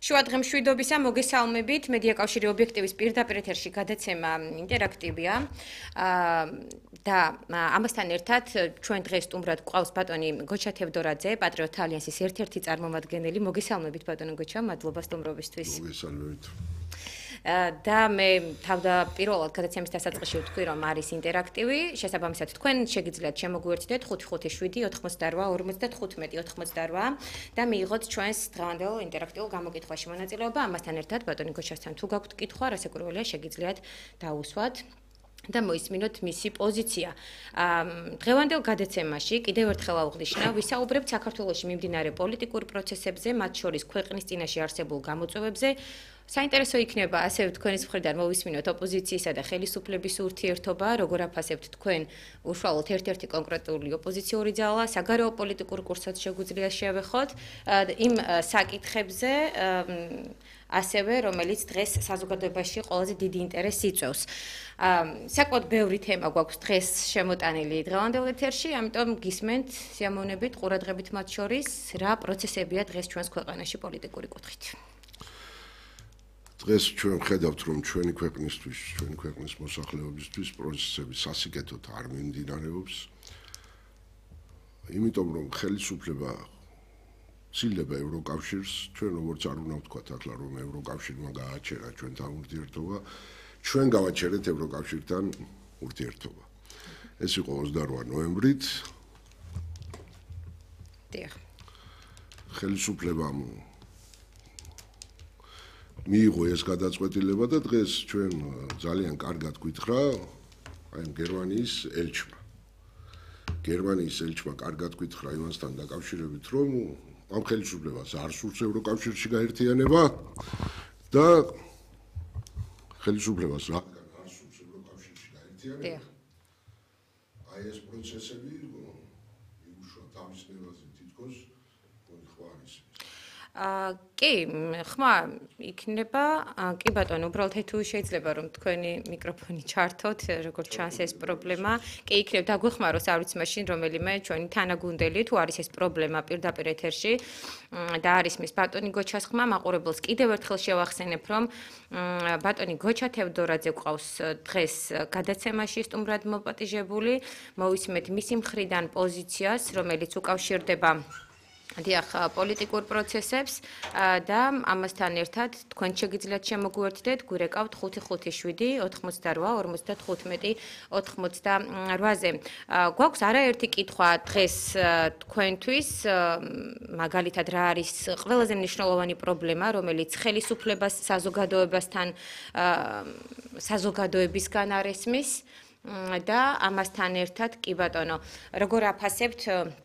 შუადღემშვიდობისა მოგესალმებით. მედიაკავშირი ობიექტივის პირდაპირ ეთერში გადაცემა ინტერაქტივია. და ამასთან ერთად ჩვენ დღეს სტუმრად გვყავს ბატონი გოჩა თევდორაძე, პატრიოტთა ალიანსის ერთ-ერთი წარმომადგენელი. მოგესალმებით ბატონო გოჩა, მადლობა სტუმრობისთვის. მოგესალმებით. და მე თავდაპირველად გადაცემის დასაწყისში ვთქვი, რომ არის ინტერაქტივი. შესაბამისად, თქვენ შეგიძლიათ შემოგვიერთდეთ 557 88 55 88 და მიიღოთ ჩვენს დღევანდელ ინტერაქტიულ გამოკითხვაში მონაწილეობა. ამასთან ერთად, ბატონი გოჩასთან თუ გაქვთ კითხვა, რასაკვირველია, შეგიძლიათ დაუსვათ და მოისმინოთ მისი პოზიცია. დღევანდელ გადაცემაში კიდევ ერთხელ აუღნიშნავ, ვისაუბრებთ საქართველოში მიმდინარე პოლიტიკურ პროცესებზე, მათ შორის ქვეყნის წინაშე არსებულ გამოწვევებზე. საინტერესო იქნება ასევე თქვენის მხრიდან მოვისმინოთ ოპოზიციისა და ხელისუფლების ურთიერთობა, როგორ აფასებთ თქვენ უშუალოდ ერთ-ერთი კონკრეტული ოპოზიციური ძალა, საგარეო პოლიტიკურ კურსად შეგვიძლია შევეხოთ იმ საკითხებზე, ასევე რომელიც დღეს საზოგადოებაში ყველაზე დიდი ინტერესს იწვევს. საკმაოდ ბევრი თემა გვაქვს დღეს შემოტანილი დღევანდელ ეთერში, ამიტომ გისმენთ სიამოვნებით, ყურადღებით მათ შორის, რა პროცესებია დღეს ჩვენს ქვეყანაში პოლიტიკური კუთხით. დღეს ჩვენ ვხედავთ, რომ ჩვენი ქვეყნისთვის, ჩვენი ქვეყნის მოსახლეობისთვის პროცესები სასიკეთოდ არ მიმდინარეობს. იმიტომ რომ ხელისუფლება ცილდება ევროკავშირს, ჩვენ როგორც არ უნდა ვთქვათ ახლა, რომ ევროკავშირმა გააჩერა ჩვენთან ურთიერთობა, ჩვენ გავაჩერეთ ევროკავშირთან ურთიერთობა. ეს იყო 28 ნოემბრით. დიახ. ხელისუფლებამ მიიღო ეს გადაწყვეტილება და დღეს ჩვენ ძალიან კარგად გვითხრა აი გერმანიის ელჩმა. გერმანიის ელჩმა კარგად გვითხრა იმასთან დაკავშირებით, რომ ამ ხელისუფლებას არ სურს ევროკავშირში გაერთიანება და ხელისუფლებას რადგან არ სურს ევროკავშირში გაერთიანება. აი ეს პროცესები იუშვა თავის ნებაზე თითქოს ხواრის. კი, ხმა იქნება, კი ბატონო, უბრალოდ თუ შეიძლება რომ თქვენი მიკროფონი ჩართოთ, როგორც ჩანს ეს პრობლემა, კი იქნება დაგვეხმაროს არ ვიცი მაშინ რომელიმე ჩვენი თანაგუნდელი თუ არის ეს პრობლემა პირდაპირ ეთერში და არის მის ბატონი გოჩას ხმა, მაყურებელს კიდევ ერთხელ შევახსენებ, რომ ბატონი გოჩა თევდორაძე გვყავს დღეს გადაცემაში სტუმრად მოპატიჟებული, მოვისმენთ მისი მხრიდან პოზიციას, რომელიც უკავშირდება დიახ, პოლიტიკურ პროცესებს და ამასთან ერთად თქვენ შეგიძლიათ შემოგვიერთდეთ, გვირეკავთ 557 88 55 88-ზე. გვაქვს არაერთი კითხვა დღეს თქვენთვის, მაგალითად რა არის ყველაზე მნიშვნელოვანი პრობლემა, რომელიც ხელისუფლებას საზოგადოებისგან არ ესმის და ამასთან ერთად კი ბატონო, როგორ აფასებთ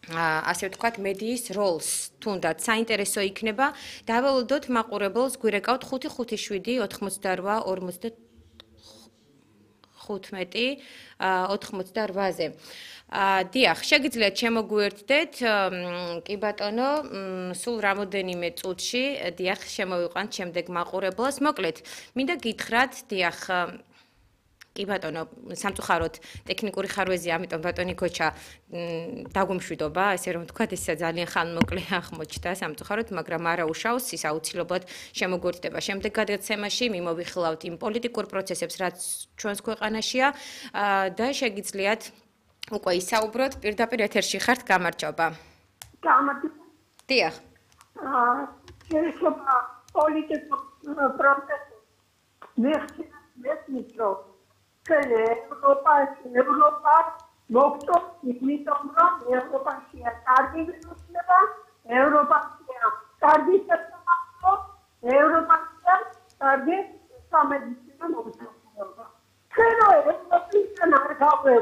ასე ვთქვათ, მედიის როლს, თუნდაც საინტერესო იქნება. დაველოდოთ მაყურებელს, გვირეკავთ 557 88 88-ზე. დიახ, შეგიძლიათ შემოგვიერთდეთ, კი ბატონო, სულ რამოდენიმე წუთში, დიახ, შემოვიყვანთ შემდეგ მაყურებელს. მოკლედ, მინდა გითხრათ, დიახ, კი ბატონო, სამწუხაროდ ტექნიკური ხარვეზია, ამიტომ ბატონი გოჩა დაგვიმშვიდობა, ესე რომ ვთქვათ, ეს ძალიან ხანმოკლე აღმოჩნდა სამწუხაროდ, მაგრამ არა უშავს, ის აუცილებლად შემოგვიერთდება შემდეგ გადაცემაში, მიმოვიხილავთ იმ პოლიტიკურ პროცესებს, რაც ჩვენს ქვეყანაშია და შეგიძლიათ უკვე ისაუბროთ, პირდაპირ ეთერში ხართ, გამარჯობა. გამარჯობა. დიახ. შეიძლება პოლიტიკურ პროცესს მეხსნით, რომ ევროპა მოგვწევს, იმიტომ რომ ევროპაშია კარგი ვირუსება, ევროპაშია კარგი სასამართლო, ევროპაშია კარგი სამედიცინო მოღვაწეობა. ჩვენ ევროპიდან არ გავყვეთ